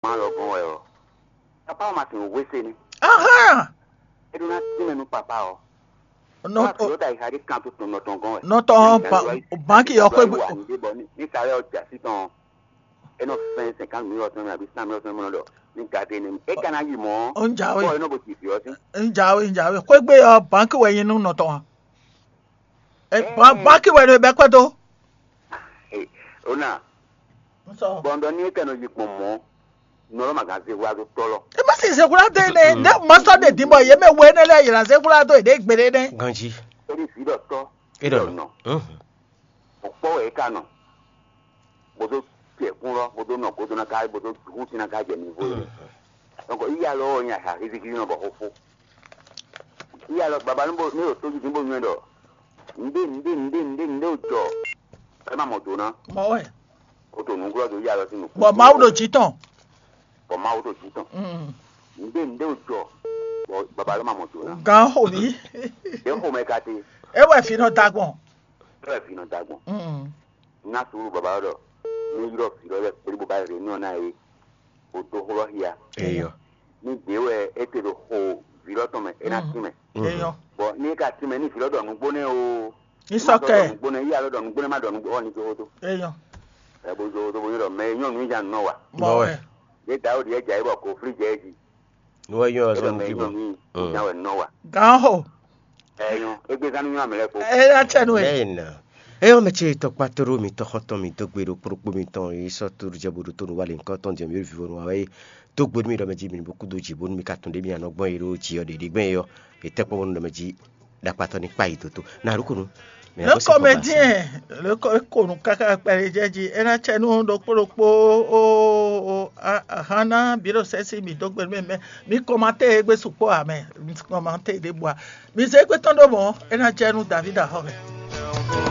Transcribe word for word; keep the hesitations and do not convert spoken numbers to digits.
Má lɔ gɔ́n wɛ ɔ́, papa ɔ́ ma tunwun hwése ní. Ahán. É ɖó ná tínmɛ nú papa ɔ́. Nɔ má fi ɔ́ da yi xa ɖé kan tó tɔn nɔ tɔn gɔ́n wɛ. Nɔ tɔn banki ɔ́ xwé gbé. Ní sáré ɔ́ jà sí tɔn. É nɔ fɛn cinquante mille ɔ́ tɔn mɛ àbí cent mille ɔ́ tɔn mɛ nɔ ɖɔ ní gade ní. É ka ná yi mɔ̌. Ó ń jáwé. Bɔ é nɔ bo ti fi ɔ́ sí. Ń jáwé, ń jáwé. Xwégbé ɔ́, banki wɛ nyi nú nɔ tɔn. Ɛ, ban- banki wɛ nɔ bɛ kpɛ́ dó. Ona. Bɔndɔ ní é kɛ nɔ yi gbɔn mɔ̌. Nɔlɔ ma gan zé wá dó tɔlɔ. E ma si zexwla dó ene, ne ma sɔ ɖe din bɔ ye mɛ wo ene lɛ yira zexwla dó ene gbede ne. Ganji. Eri vi ɖɔ tɔ. E ɖɔ nɔ. O kpɔ wɛ e ka nɔ. Bodo tiɛ kun lɔ, bodo nɔ godo na ka, bodo hu si na ka jɛ nivo ye. Donc iya lɔ nya ha hiziki nɔ bɔ xofo. Iya lɔ baba ne bo ne o to ji bo nyɛ dɔ. Nde nde nde nde nde o jɔ. E ma mɔ do na. Mɔ wɛ. O to nuglɔ do iya lɔ si nu. Bɔ Mawu ɖo dzi tɔn. Bɔ Mawu ɖo dzi tɔn. Mm. Nde nde o jɔ. Bɔ baba lɔ ma mɔ do na. Gan xo mi. E xo mɛ ka te. E wɛ fi nɔ da gbɔn. E wɛ fi nɔ da gbɔn. Mm. Ná suúlu baba ɖɔ ní ylɔ́ vǐ lɔ lɛ́ɛ kplé bó ba réunion ná é, bó dó xó lɔ xia. Eyɔ. Ní gbě wɛ é te ɖo xo vǐ lɔ tɔn mɛ, é ná tín mɛ. Eyɔ. Bɔ ní é ka tín mɛ ní vǐ lɔ ɖɔ nǔgbó nɛ́ o. Ní sɔ́ kɛ. Nǔgbó nɛ́ yí alɔ ɖɔ nǔgbó nɛ́ má ɖɔ nǔgbó ɔ ní jó xótó. Eyɔ. Ɛ bó jó xótó bó nyí ɖɔ mɛ nyɔ́nu ní nya nǔ nɔ wa. Bɔ wɛ. Ní Dawudi ɛ jɛ ayé bɔ koflí jɛ é jí. Nú wɛ nyɔ́ ɔ́ zɔ́n nukí bɔ. Nya wɛ nɔ wa. Gǎn xo. Ɛ nyɔ, égbé zán nú nyɔ́ amɛ lɛ́ɛ kpo. Ɛ yá tsɛ nú ɛ. Lẹ́yìn náà, ẹ yɔ́ mɛ ce tɔkpá tóɖó mi tɔxɔntɔn mi dó gbe ɖo kplɔ́kpó mitɔn yi sɔ́ tóɖó jɛ bo ɖo tónú wá lě nyǐkɔ tɔn jɛ mǐ ɖo vivɔnu wa wɛ. Dó gbe nú mi ɖɔ mɛ jí mi ní bó kúdó jǐ bónú mi ka tunwun ɖě mi anɔ gbɔn yi ɖó jǐ ɔ́ ɖě ɖě gbɛn é ɔ́, è tɛ́ kpɔ́n bónú ɖɔ mɛ jí ɖakpatɔ́ ní kpá yi dǒ tó. Nǎ ɖó ko nú. Le comédien, le ko e ko nǔ káká kpɛɖé jɛ jí, é ná tsɛ nú ɖokpó ɖokpó ó ó ahán ná bǐ ɖo sɛ́sí mǐ dó gbe nú mɛ. Mi kɔmatée égbé sukpɔ́ ǎ mɛ, mi kɔmatée ɖěbǔ ǎ. Mi zé égbé tɔn ɖó mɔ̌, é ná jɛ nú Davídi axɔ́ mɛ.